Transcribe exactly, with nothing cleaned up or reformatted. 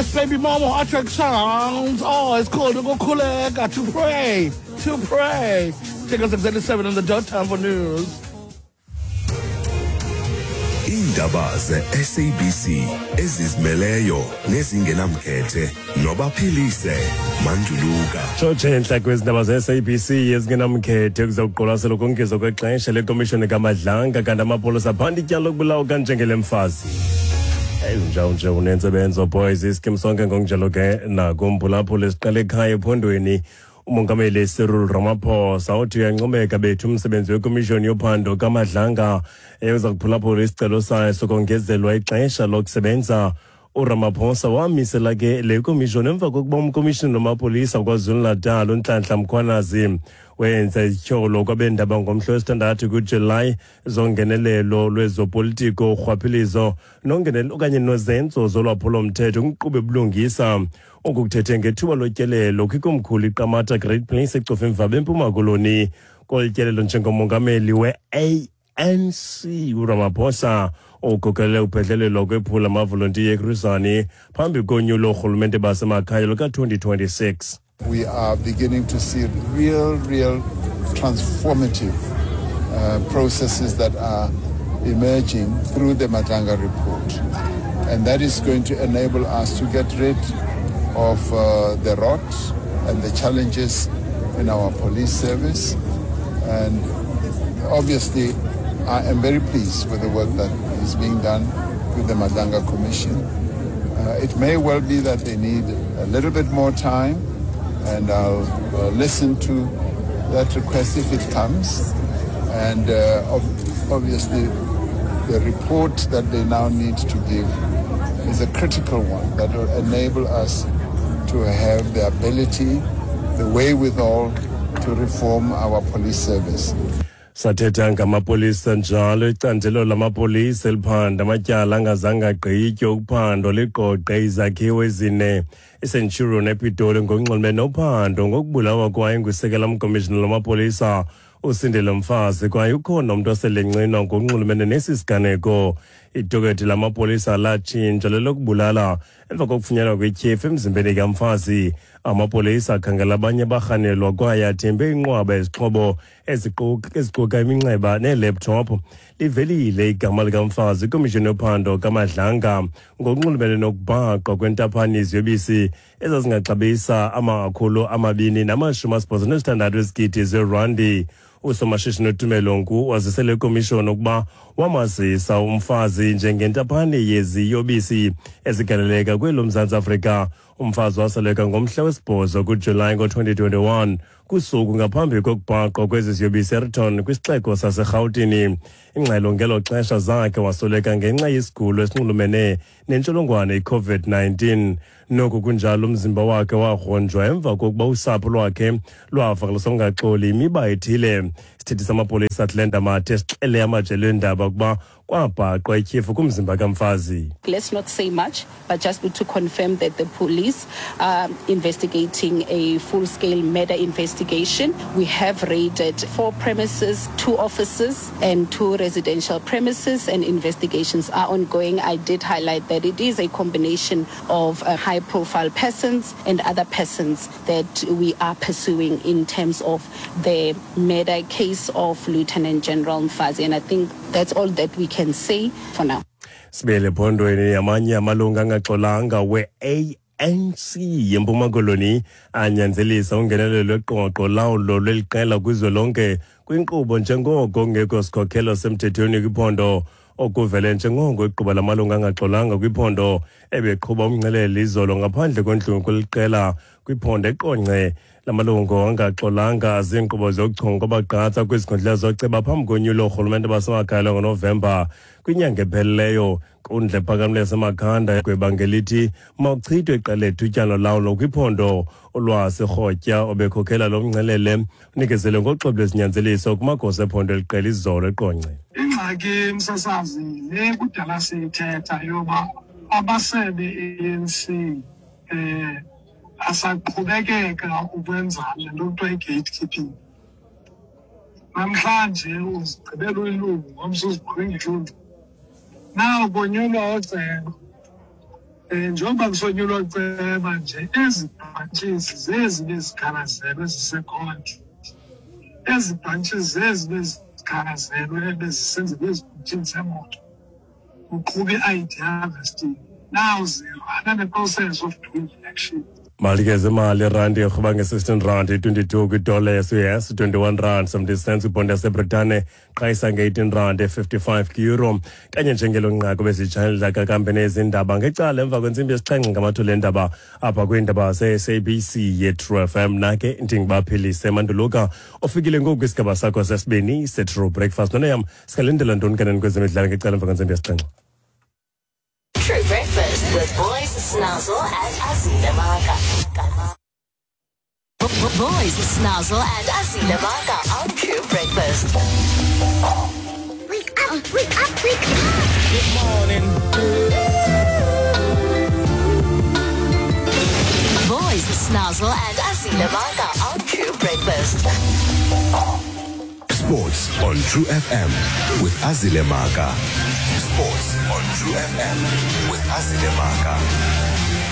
Yes, baby mama, Attract Sounds. Oh, it's called Ukukhuleka, to pray, to pray. Take us exactly seven on the dot, time for news. Iindaba ze-S A B C ezizimeleyo nezingenamkhethe noBaphilise Manduluka. Tshotshe entla kwezindaba ze-S A B C ezingenamkhethe, kuza kuqwalasela ukongezwa kwexesha lekomishoni kaMadlanga, kanti amapolisa aphanda ityala lokubulawa kanjengele mfazi. Eyi, nje unentsebenzo boys iskim sonke ngokunjalo ke nakumphulaphula. Siqale ekhaya ephondweni. Umongameli Cyril Ramaphosa uthi uyancomeka bethu umsebenzi wekomishoni yophando kaMadlanga eza kuphulaphula isicelo sayo sokongezelwa ixesha lokusebenza. URamaphosa wamisela ke le komishoni emva kokuba umkomishini wamapolisa KwaZulu-Natal uNhlanhla Mkhwanazi wenza izityholo kwabendaba ngomhla wesithandathu kuJulayi zongenelelo lwezopolitiko, urhwaphilizo nongenelo okanye nozenzo zolwaphulomthetho kwinkqubo ebulungisa. Oku kuthethe ngethuba lotyelelo kwikomkhulu iQamata Great Place eCofimvaba eMpuma Koloni. Kolu tyelelo njengomongameli we-A N C, uRamaphosa ukhokelele uphehlelelo kwephula amavolontiya eChris Hani phambi konyulo oorhulumente basemakhaya luka-twenty twenty-six. We are beginning to see real, real transformative uh, processes that are emerging through the Madlanga report. And that is going to enable us to get rid of uh, the rot and the challenges in our police service. And obviously, I am very pleased with the work that is being done with the Madlanga Commission. Uh, it may well be that they need a little bit more time, and I'll uh, listen to that request if it comes. And uh, ob- obviously, the report that they now need to give is a critical one that will enable us to have the ability, the wherewithal to reform our police service. Sathetha ngamapolisa njalo, icandelo lamapolisa eliphanda amatyala angazange agqitywe ukuphandwa ligqogqe izakhiwo ezine eCenturion ePitoli ngokunxulumene nophando ngokubulawa kwaye ngusekela mkomishina lamapolisa uSindile Mfazi, kwaye ukhona umntu oselencinwa ngokunxulumene nesi siganeko. Idokethi lamapolisa latshintsha lelokubulala emva kokufunyanwa kwetyhefu emzimbeni kamfazi. Amapolisa akhangela abanye abarhanelwa kwaye athembe inqwaba ezixhobo eziquka iminxeba neelaptop. Livelile igama likamfazi ikomishoni yophando kaMadlanga ngokunxulumene nokubhaqwa kwentaphane yeziyobisi ezazingaxabisa amakhulu amabini namashumi asibhozo nesithandathu ezigidi zerandi. Usomashishini uTumelo Nku wazisele ikomishoni ukuba wamazisa umfazi njengentaphane yeziyobisi ezigaleleka kwelo Mzantsi Afrika. Umfazi wasweleka ngomhla wesibhozo kuJulayi ngo-twenty twenty-one, kusuku ngaphambi kokubhaqwa kwezi ziyobisi eRiton kwisixeko saseRhawutini. Ingxelo ngelo xesha zakhe wasweleka ngenxa yesigulo esinxulumene nentsholongwane i-COVID nineteen. Noku kunjalo, umzimba wakhe wagronjwa emva kokuba usapho lwakhe lwavakalisa ungaxoli imiba ethile. Isithethi samapolisa Athlenda Mathe sixele amajelo eendaba ukuba kwabhaqwa ityhefu kumzimba kamfazi. Let's not say much, but just to confirm that the police are investigating a full-scale murder investigation. We have raided four premises, two offices and two residential premises, and investigations are ongoing. I did highlight that it is a combination of uh, high-profile persons and other persons that we are pursuing in terms of the murder case of Lieutenant General Mfazi. And I think that's all that we can say for now. Sibele phondweni, amanye amalungu angaxolanga we-A N C yeMpuma Koloni anyanzelisa ungenelelo lweqoqo lawulo lweliqela kwizwelonke kwinkqubo njengoko kungekho sikhokhelo semthethweni kwiphondo. Okuvele njengoko igquba lamalungu angaxolanga kwiphondo ebeqhuba umngcelele izolo ngaphandle kwendlu kweliqela kwiphondo eQonce. Lamalungu angaxolanga ziinkqubo zokuchonga kwabagqatsa kwizikhundla zoceba phambi konyulo oorhulumente basemakhaya ngoNovemba kwinyanga ephelileyo. Nkundla ephakamileyo yaseMakhanda yagweba ngelithi mawuchithwe iqela lethutyana lawulo kwiphondo. Ulwazi Rhotya obekhokhela lo mngcelele unikezele ngoxwebhu lwesinyanzeliso kumagosa ephondo eliqela izolo eQonce. Ingxaki, msasazi, le kudala siyithetha yoba amasebe E A N C eh asaqhubekeka ukwenza le nto kuthiwa i-gatekeeping. Namhlanje uzigqibela uyilungu, ngomso uzigqibe ngelungu. Now konyulwa ooceba. Um njengoba kusonyulwa ceba nje, ezi branches zezi bezikhalazelwe zisekhonto, ezi branches zezi bezikhalazelwe bezisenziwa ezibhutini zemoto, kuqhuba i-I D harvesting. Now zirana ne-process of doing election. Mali ke zemali: irandi irhuba nge-sixteen rand twenty-two kwidola yase-U S, twenty-one rand seventy cents kwibhondi yaseBritane, qhayisa nge-eighteen rand fifty-five kwi-euro. Kanye njengelo nqaku besitshayelela kakambe nezindaba ngecala emva kwentsimbi yesixhenxe ngamathule endaba apha kwiindaba ze-S A B C ye-True F M. Nake ndinguBaphilise Manduluka ofikile ngoku kwisigaba sakho sesibini se-True Breakfast. Noneyam singalindela ntoni kaneni kwezemidlalo ngecala emva kwentsimbi yesixhenxe? True Breakfast with Boys Snazzle and Azile Maka. Boys Snazzle and Azile Maka on True Breakfast. Wake up, wake up, wake up. Good morning. Boys Snazzle and Azile Maka on True Breakfast. Sports on True F M with Azile Maka. Sports on True F M with Azile Maka.